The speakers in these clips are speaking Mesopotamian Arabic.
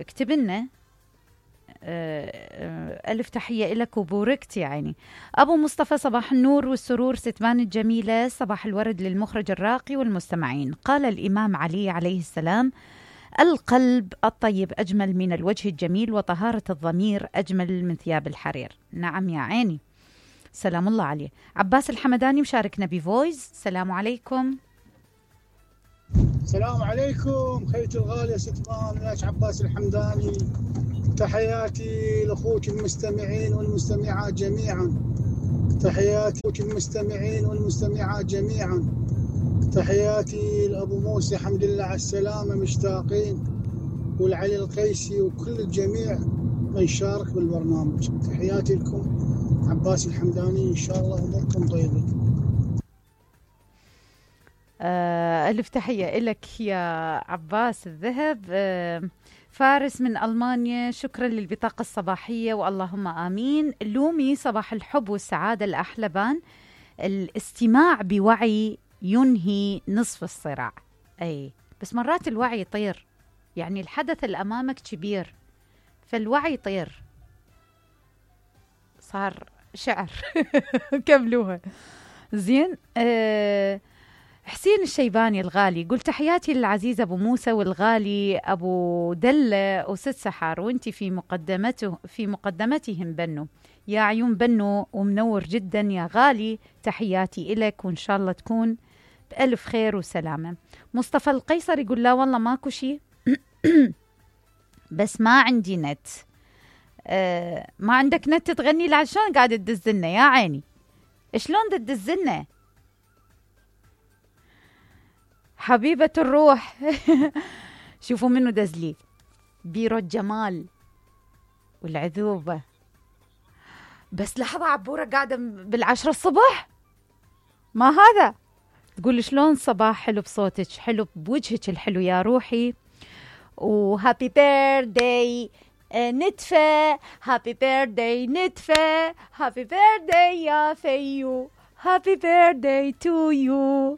اكتب لنا. ألف تحية لك وبوركت يا عيني. أبو مصطفى صباح النور والسرور ستمان الجميلة، صباح الورد للمخرج الراقي والمستمعين. قال الإمام علي عليه السلام: القلب الطيب أجمل من الوجه الجميل، وطهارة الضمير أجمل من ثياب الحرير. نعم يا عيني، سلام الله عليه. عباس الحمداني مشاركنا بفويس. السلام عليكم. السلام عليكم خيتي الغالية ست مامناش عباس الحمداني. تحياتي لأخوك المستمعين والمستمعات جميعا. تحياتي لأخوك المستمعين والمستمعات جميعا. تحياتي لأبو موسى حمد الله على السلامة مشتاقين، والعلي القيسي وكل الجميع من شارك بالبرنامج. تحياتي لكم عباس الحمداني، إن شاء الله أموركم طيبة. ألف تحية لك يا عباس الذهب. فارس من ألمانيا، شكرا للبطاقة الصباحية واللهم آمين. لومي صباح الحب والسعادة الأحلبان. الاستماع بوعي ينهي نصف الصراع. أي بس مرات الوعي يطير، يعني الحدث اللي أمامك كبير فالوعي يطير. صار شعر. كملوها زين. حسين الشيباني الغالي قلت تحياتي للعزيز أبو موسى والغالي أبو دلة وست سحار، وانتي في مقدمتهم بنو. يا عيون بنو ومنور جدا يا غالي، تحياتي إلك وإن شاء الله تكون بألف خير وسلامة. مصطفى القيصر يقول لا والله ماكو شي بس ما عندي نت. ما عندك نت تغني لي؟ عشان قاعدة تدزلنا يا عيني، شلون تدزلنا حبيبة الروح؟ شوفوا منو دزلي، بيرو الجمال والعذوبة. بس لحظة، عبورة قاعدة بالعشرة الصبح، ما هذا تقول شلون صباح حلو بصوتك، حلو بوجهك الحلو يا روحي. وهابي بيرثداي نتفة، هابي بيرثداي نتفة، هابي بيرثداي يا فيو، هابي بيرثداي تو يو.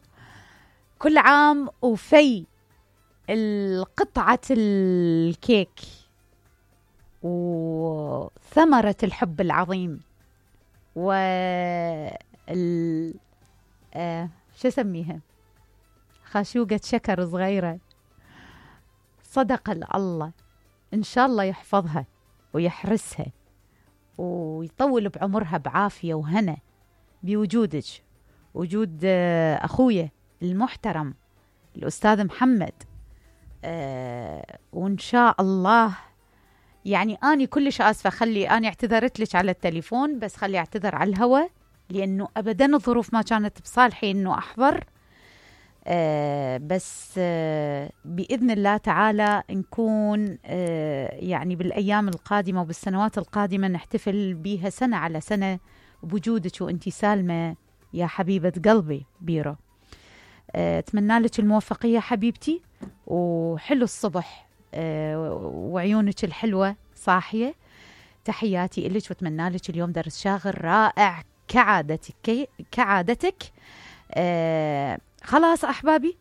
كل عام وفي القطعة الكيك وثمرة الحب العظيم شو اسميها، خاشوقة شكر صغيرة. صدق الله، إن شاء الله يحفظها ويحرسها ويطول بعمرها بعافية وهنا بوجودك، وجود أخويا المحترم الأستاذ محمد. وإن شاء الله يعني أني كلش آسفة، خلي أنا اعتذرت لك على التليفون، بس خلي اعتذر على الهواء لأنه أبدا الظروف ما كانت بصالحي أنه أحضر. بس بإذن الله تعالى نكون يعني بالأيام القادمة وبالسنوات القادمة نحتفل بيها سنة على سنة بوجودك وأنتي سالمة يا حبيبة قلبي بيرو. أتمنى لك الموفقية حبيبتي، وحلو الصبح وعيونك الحلوة صاحية. تحياتي إلك وأتمنى لك اليوم درس شاغل رائع كعادتك. خلاص أحبابي،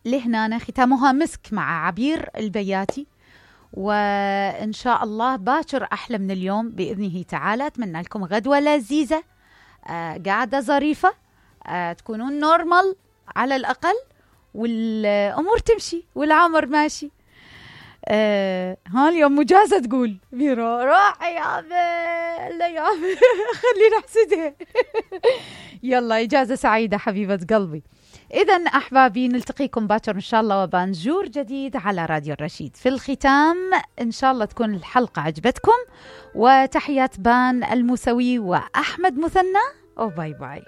لهنا ختامها مسك مع عبير البياتي، وإن شاء الله باكر أحلى من اليوم بإذنه تعالى. أتمنى لكم غدوة لذيذة، قاعدة ظريفة، تكونون نورمال على الأقل، والأمور تمشي والعمر ماشي. ها اليوم مجازة تقول بيرو روح يا لا يا خلينا نحسدها. يلا إجازة سعيدة حبيبة قلبي. إذن أحبابي نلتقيكم باكر إن شاء الله وبانجور جديد على راديو الرشيد. في الختام إن شاء الله تكون الحلقة عجبتكم، وتحيات بان الموسوي وأحمد مثنى، وباي باي.